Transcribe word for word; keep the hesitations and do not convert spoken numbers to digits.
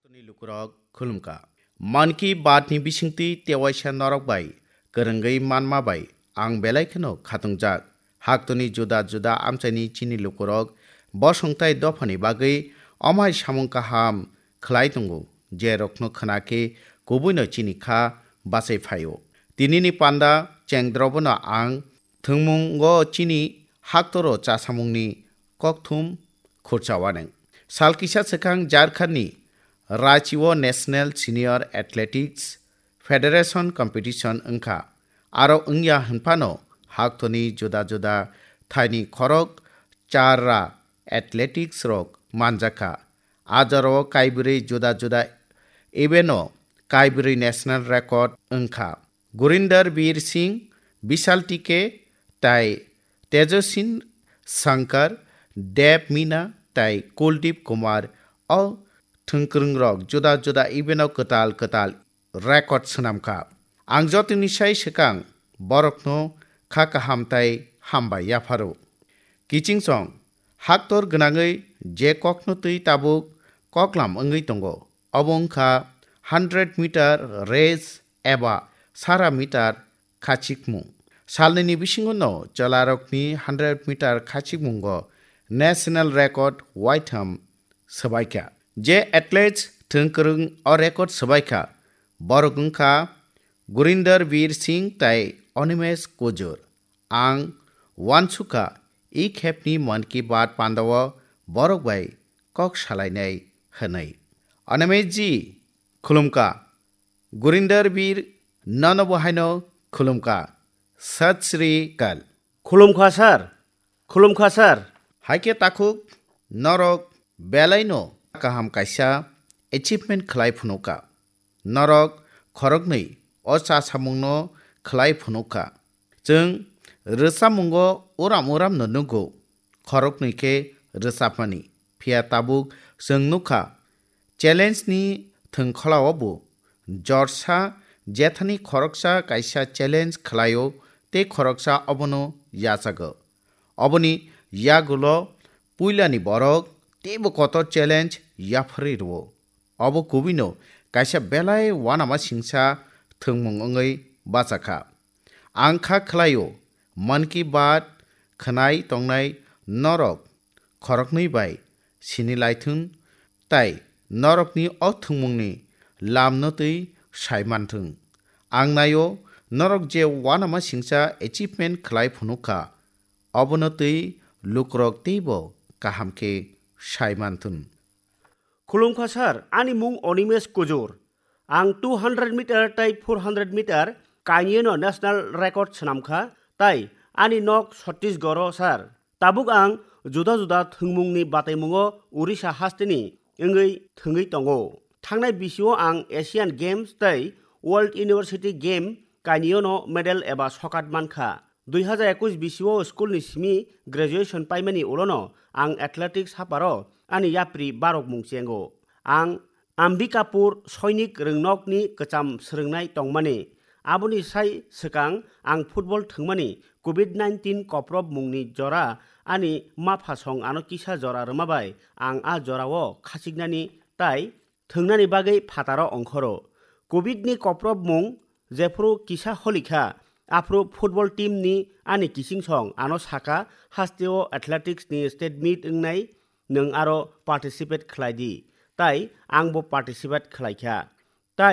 Haktoni lukurok khulumkha. Mann Ki Baat ni bisingtwi tewaisa norok bai kwrwngwi manma bai ang belai kheno khatungjak. Haktoni juda juda amchaini chini lukurok bosongtai dophani bagwi omai samung kaham khlai tongo, je rokno khna khe kubuino chini kha bachai phaio. Tinini panda chengdrobono ang thwngmungo chini haktoro chasamungni kokthum khurcha waneng. Sal kisa swkang Jharkhandni Ranchi-o National Senior Athletics Federation Competition wngkha. Aro wngya hwnphano haktoni juda juda thaini khorok char ra athletics rok manjakha. A jorao kaibrwi juda juda event-o kaibrwi national record wngkha. Gurinder Bir Singh, Bishal T K, tai Tejosin Shankar, Dev Meena tai Kuldeep Kumar o thwngkwrwngrok juda juda event-o kwtal kwtal record swnamkha. Ang jotoni sai swkang borokno kha kaham tai hambai yapharo. Kiching song, haktor gwnangwi je kokno twi tabuk koklam wngwi tongo, obo wngkha hundred meter race eba sara meter khachikmung. Salnini bisingo no chwlarokni hundred meter khachikmungo national record waitham swbaikha. Je athletes thwngkwrwng o record swbaikha, borok wngkha Gurinder Bir Singh tai Animesh Kujur. Ang uansukha, i khepni Mann Ki Baat pandao borok bai kok salainai hwnwi. Animesh ji, khulumkha. Gurinder Bir, nono bo haino khulumkha. Sat Sri Akal. Khulumkha sir. Khulumkha sir. Haikhe takhuk norok belaino kaham kaisa achievement khlai phunukha. Norok khoroknwi o chasamungno khlai phunukha. Chwng rwchapmungo uram uramno nugo, khoroknwi khe rwchapmani. Phiya tabuk chwng nukha, challenge ni thwngkholao bo jorsa jethani khoroksa kaisa challenge khlaio tei khoroksa obono yachago. Oboni yagulo puilani borok teibo kotor challenge yapharwi rwo. Obo kubuino kaisa belai uanama singsa thwngmung wngwi bachakha. Ang kha khlaio, Mann Ki Baat khwnai tongnai norok khoroknwi bai sini laithung tai norokni o thwngmungni lamno twi sai manthung. Ang naio norok je uanama singsa achievement khlai phunukha, obono twi lukurok teibo kaham khe sai manthung. Khulumkha sir, ani mung Animesh Kujur. Ang two hundred meter tai four hundred meter kainwino national record swnamkha, tai ani nok Chhattisgarh-o sir. Tabuk ang juda juda thwngmungni bataimungo Orissa hasteni wngwi thwngwi tongo. Thangnai bisio ang Asian Games tai World University Game kainwino medal eba sokat mankha. Dui hazar ekush bisio school ni simi graduation paimani ulono ang athletics haparo ani yapri barok mung chengo. Ang Ambikapur Soinik Rwngnokni kwcham swrwngnai tongmani. Aboni sai swkang ang football thwngmani covid nineteen koprob mungni jora ani mapha song ano kisa jora rwma bai ang a jorao khachiknani tai thwngnani bagwi phataro ongkhoro. Covid ni koprob mung jephuru kisa holikha, aphuru football team ni ani kiching song ano saka, hasteo athletics ni state meet wngnai, nwng aro participate khlai di, tai angbo participate khlai kha.